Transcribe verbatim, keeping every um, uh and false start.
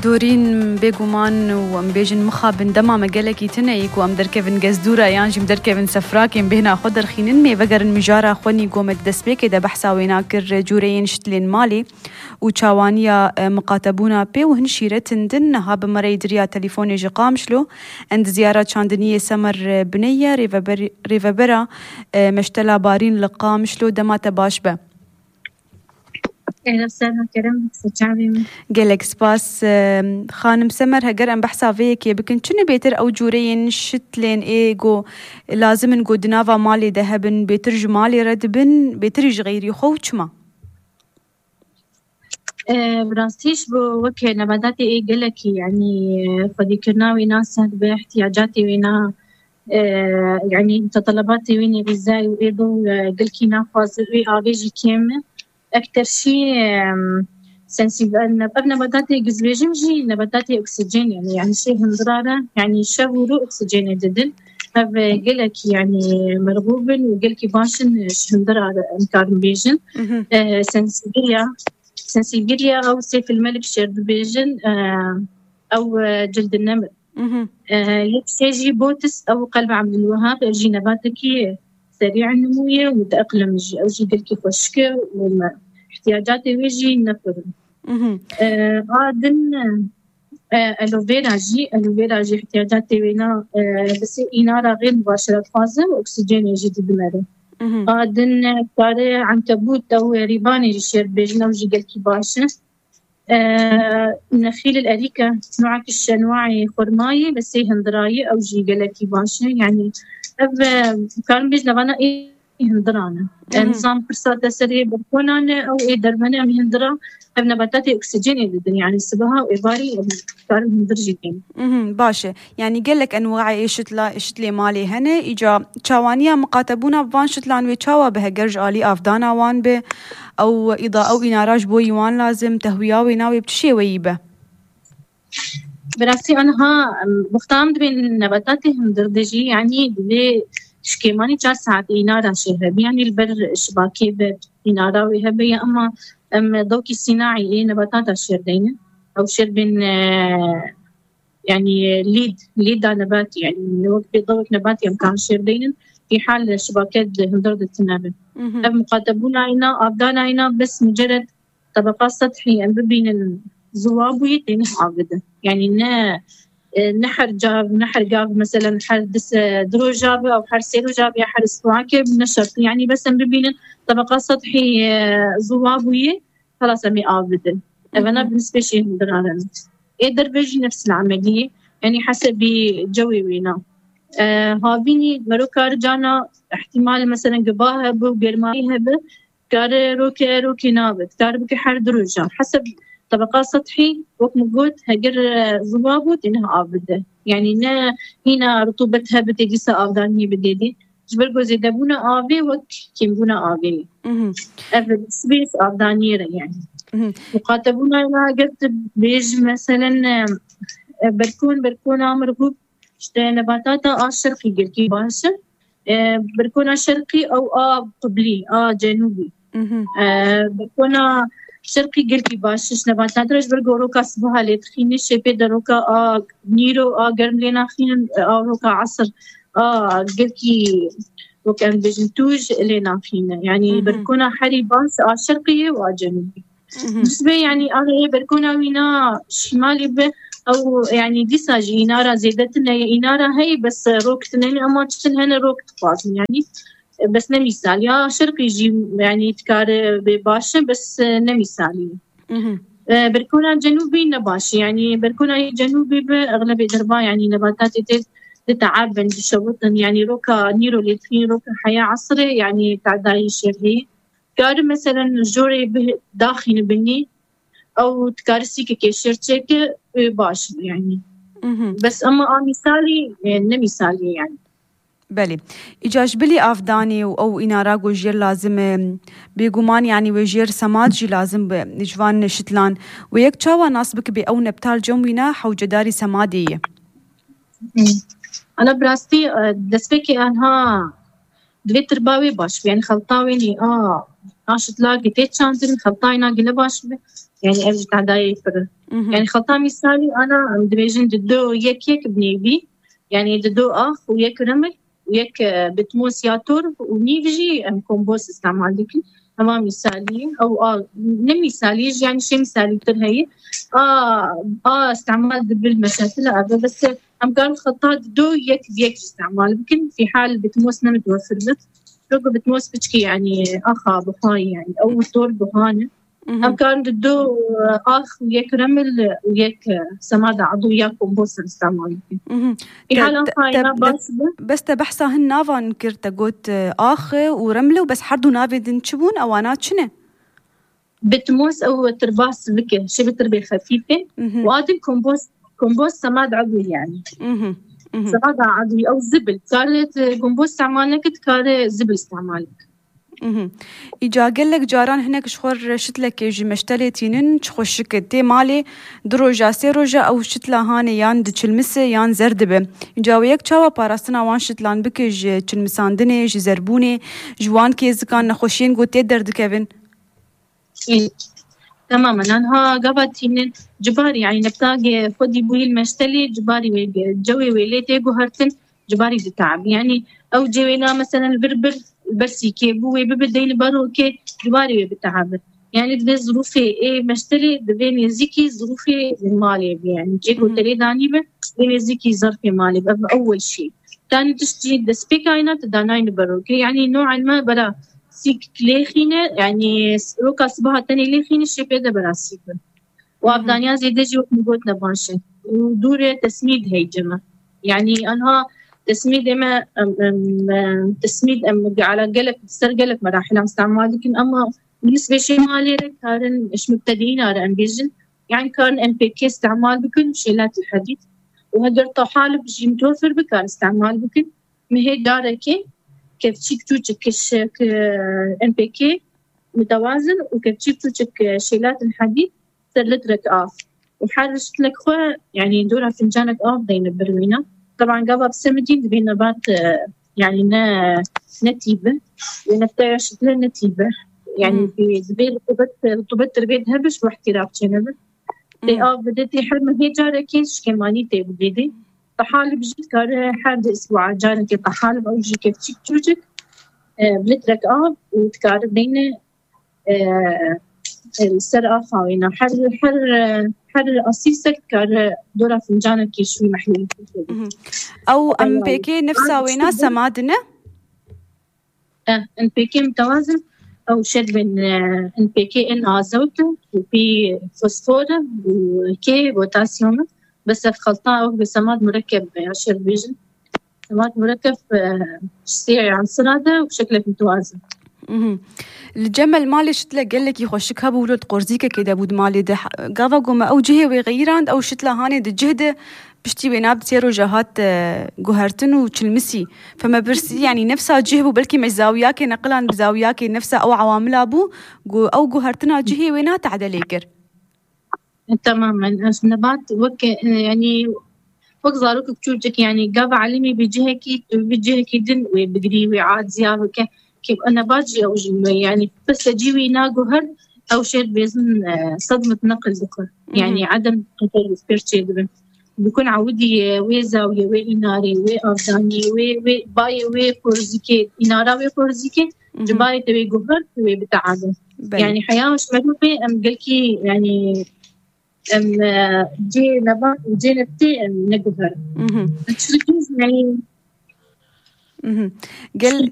Dorîn, bêguman û em bêjin mixabin dema me gelekî tune yî ku em derkevin gezdûra yan jî em derkevin sefrakên bêhna xwe derxînin, mê vegerin mijara xwe nî ku me di destpêkê de behsa wêna kir, cûreyên şitlên malê û çawaniya, e, miqatebûna pê û hin şîretin din niha bi me re yî diriya telîfonê ji Qamişlo. Endizyara çandiniyê Semer, e, Bineyye, rêveber-, rêvebera, e, Meştela Barîn li Qamişlo, dema te baş be. Ev ser kerem, se çavê min. Gelek spas. Em, Xanim Semer, heger em behsa vê yekê bikin, çi ne bêtir ew cûreyên şitlên ê ku lazim in ku di nava malê de hebin, bêtir ji malê re dibin, bêtir ji xeyrî xwe û çima? E, bi rastî ji bo weke nebatatê ê gelekî, yanî, e, xwedîkirina wê na seh dibe, ihtiyacatê wê na, e, yanî, mutalabatê wê nê xîzayî û ê do, e, gelkî naxwaze, wê avê jî kêm e. Ekter şî, em, sensîb-, ev nebatatê gizbêjim jî nebatatê oksîjenê ne, yanî şê hindira re, yanî şev û rû oksîjenê didin. Ev, e, gelekî, yanî merxûb in û gelkî baş in, e, ji hindira re em karin bêjin. Mhm. E, sensîbiriya, sensîbiriya ew sê filme li bi şêr dibêjin, e, ew, e, cildin nemir. Mhm. E, yek şê jî botis ew qelb Abdulwehab, ev jî nebatekî serî nimû ye û mutaqlim jî. Ew jî gelkî xweşik e û me, ihtiyacatê wê jî ne pir in. Mhm. E, a din, e, aloe vera jî, aloe vera jî ihtiyacatê wê na, e, bi sê înara xêr mubaşeretxwaz e û oksîjenê jî didimere. Mhm. A din, e, kare ankebût ew, e, rîbanê jî şêr dibêjin, ew jî gelkî baş e. E, nexîl el erîke, nuak şenwaê xurmayê bi sê hindirayê, ew jî gelekî baş e. Yanî ev, e, karin bêjin, evana ê hindiran e. Mhm. Em zan pirsa te serê balkonan e, ew ê derve ne, em hindira, ev nebatatê oksîjenê didin. Yanî sibeha û êvarî em karin hindir jî tên. Mhm, baş e. Yanî gelek enwaê şitla-, şitlê malê hene. Îca çawaniya miqatebûna bi van şitlan wê çawa bi heger ji alî avdana wan be? Ew îda, ew înara ji bo yî wan lazim, tehwiya wê navê bi çi şêweyî be? Bi rastî aniha, em, wexta em dibên nebatatê hundir de jî, yanî divê ji kêmanî çar saet înara şêr hebe. Yanî li ber şibakê be, înara wê hebe ya, ema em dawkî sînaî ê nebatata şêr deynin. Ew şêr bên, e, yanî lîd, lîda nebatî, yanî wek pê dawek nebatî em kan şêr deynin, fî hal şibake di hundir de tune be. Mhm. Ev muqatebûna îna, avdana îna bes mucered tebeqa sethî em bibînin ziwa bûyî têne avide. Yanî ne, e, ne her cav, ne her gav, meselen her di se-, di roja be, ew her sê roja be, ya her îstihake ne şert. Yanî bes em bibînin tebeqa sethî, e, ziwa bûyî, xelas em ê avide. Evena Mhm. bi nisbê şê hundiran in. Ê derve jî nefs el emeliyê, yanî hesebî cewê wêna. E, havînî mero kar cana ihtimal, meselen giba hebe û germayî hebe, kare roke, rokê nabe, kar bike her du rojan. Heseb tebeqa sethî, wek min got, heger, e, ziwa bû, têne avide. Yanî ne hîna rutubet hebe tê dîsa avdaniyê bidê dê. Ji ber ku zêdebûna avê wek kêmbûna avê ye. Mhm. Ev sibê avdaniyê re yanî. Mhm. Muqatebûna ya eger tu bêj meselen, e, e, berkon, berkona mirxûb, işte nebatata a şerqî girkî baş e. E, berkona şerqî ew a qiblî, a cenûbî. Mhm. E, berkona şerqî girkî baş e, ji nebatata re ji ber ku roka sibaha lê dixîne, şêpê de roka a nîro a germ lê naxînin, a roka esir a girkî, wek em bêjin, tûj lê naxîne. Yanî Mhm. berkona herî baş a şerqî ye û a cenûbî. Mhm. Nisbê, yanî, a rê berkona wî na şimalî be, ew, yanî, dîsa jî înara zêde tune ye, înara heye, bes rok tune ne, ema çitin hene rok dixwazin, yanî, bes ne mîsal. Ya şerqî jî, yanî, dikare bê baş e, bes ne mîsalî ye. Mhm. E, berkona cenûbî ne baş e, yanî, berkona cenûbî bi exlebê derba, yanî, nebatatê tê diteabin, dişewitin, yanî, roka nîro lê dixîn, roka heya esirê, yanî, tadayî şêr heye. Dikare, meselen, jorê bi daxîne binî, ew dikare sîkekê şêr çêke, wê baş be, yanî. Mhm. Bes ema a mîsalî, e, ne mîsalî ye, yanî. Belê. Îca ji bilî avdanê û ew înara ku jêr lazim e, bêguman, yanî wê jêr semad jî lazim be ji van şitlan. Wê yek çawa nas bikibe ew nebtal cem wîna hewcedarî semadê ye? Hmm. Ana bi rastî, e, destpêkê anha divê tirba wê baş be, yanî xelta wê nî, a, Aşitla gitê çandin, xeltayna gile baş bi. Yani ev ji tadayê pir. Mhm. Yani xelta misalî ana, em dibêjin di do yek yek binêvî. Yani di do ax û yek remil û yek, e, bitmos ya torf û nîv jî em kompost istemal dikin. Hema misalî, ew a, ne misalî jî, yani şey misalî tir heye. A, a istemal dibil meşetila eve bes em karin xeta di do yek yek jî istemal bikin. Fî hal bitmos ne mitwefir bi. Çünkü bitmos piçkî yani axa buha yani. Ew tor buha ne. Mhm. Em karin di do, e, ax û yek remil û yek, e, semada edû ya kompost istemal bikin. Mhm. Fî hal axa bas bi. Bes te behsa hin navan kir, te got, e, ax û remle û bes her du navê din çi bûn? Ewana çi ne? Bitmos ew tirbas bike, şê bi tirbê xefîfê. Mhm. Û adil kompost, kompost semad edû yani. Mhm. Mhm. Semada edû ew zibil. Kare kompost istemal neke, dikare zibil istemal bike. Mhm. Îca gelek caran hinek ji xwe re şitlekê ji meştelê tînin, çi xweşik e. Tê malê du roja, sê roja ew şitla hanê yan diçilmise yan zer dibe. Îca wê yek çawa parastina wan şitlan bike ji çilmisandinê, ji zerbûnê, ji wan kêzikan nexweşiyên ku tê derdikevin? Ê, temamen. Anha gava tînin cibarî, yani neptagê xwedî bûyî li meştelê cibarî wê, cewê wê lê tê guhertin, cibarî diteab. Yani ew cewêna meselen vir bir bersîkê bû wê bibi deyni berokê cibarî wê biteabin. Yani divê zirûfê ê meştelê divê nêzîkî zirûfê malê bi. Yani cê ku Mhm. terê danî bi, divê nêzîkî zerfê malê bi. Ev ewwel şey. Tanî tişt jî destpêka yîna tu danayne berokê. Yani noen me bera sîk lêxîne, yani roka sibaha tenê lêxîne, şê pê de bera sîk bin. Û Mhm. avdaniya zêde jî wek min got ne baş e. Û dûrê tesmîd heyce me. Yani anha tesmîdê me, em, em, em, tesmîd em ala gelek, ser gelek merahilan istemal dikin ama bi nisbê şê malê re karin ji mubtedîna re em bêjin. Yani karin N P K istemal bikin, şêlat el hedîd. Û heger tahalib jî mitwefir bi, karin istemal bikin. Mihê carekê kevçîk çûçik kişik, e, N P K mutewazin û kevçîk çûçik, e, şêlat el hedîd ser litrek av. Û her şitlek xwe, yani dora fincanek av deyne birwîna. Teban gava bi semidîn divê nebat, e, yani ne, ne tî bi. Wê neftaya şitle ne tî bi. Yani Hmm. divê rutubet, rutubet dirbê hebe ji wehtî rav çênebe. Tê Hmm. av bide, tê her mehê carekê şikemanî tê bidê. Tahalib jî dikare her di isbua carekê tahalib ew jî kevçîk çûçik, e, bi litrek av û dikare deyne, e, e, ser axa wêna. Her, her, e, her asîsek dikare dora fincanekê şûyî mehlûlî xwe bide. Mhm. Ew N P K nefsa wêna semad ne? Eh, N P K mutewazin, ew şer bin, eh, N P K in azot û pî fosfor û K potasyum. Bes ev xelta ew bi semad murekkeb be, ya şer bêjin. Semad murekkeb, eh, ji sê ansira de û şeklek mutewazin. Mhm. Li cem el malê şitle gelekî xweşik hebû, wilo di qorzîkekê de bû di malê de. Gava ku me ew cihê wê xeyirand, ew şitla hanê di cih de piştî wê nav di sê roja hat, e, guhertin û çilmisî. Fe me pirsî, yanî nefsa cih bû, belkî me ji zawiyakê neqilan bi zawiyakê nefsa ew ewamila bû, ku ew guhertina cihê wê na te'delê kir. Temamen. Ev nebat wek, e, yanî wek zarokek çûçik, yanî gava elimî bi cihekî, tu bi cihekî din wê bigirî, wê aciya bike. Ki nebat jî ew jî me, yanî pese cî wî naguher, ew şêr bêzin, e, sedmet neqil dixwe. Mhm. Yanî edem teferruf pêr çêdibin. Bikun ewidî, e, wê zawiye, wê înarê, wê avdaniyê, wê, wê bayê, wê porzîkê, înara wê porzîkê, Mhm. cibarê te wê guher, tu wê biteabin. Belê. Yanî heya ji merûfê em gelkî, yanî em, e, cê nebat û cê neftê em neguherin. Mhm. Çi dikîz, yanî Mhm. Gel,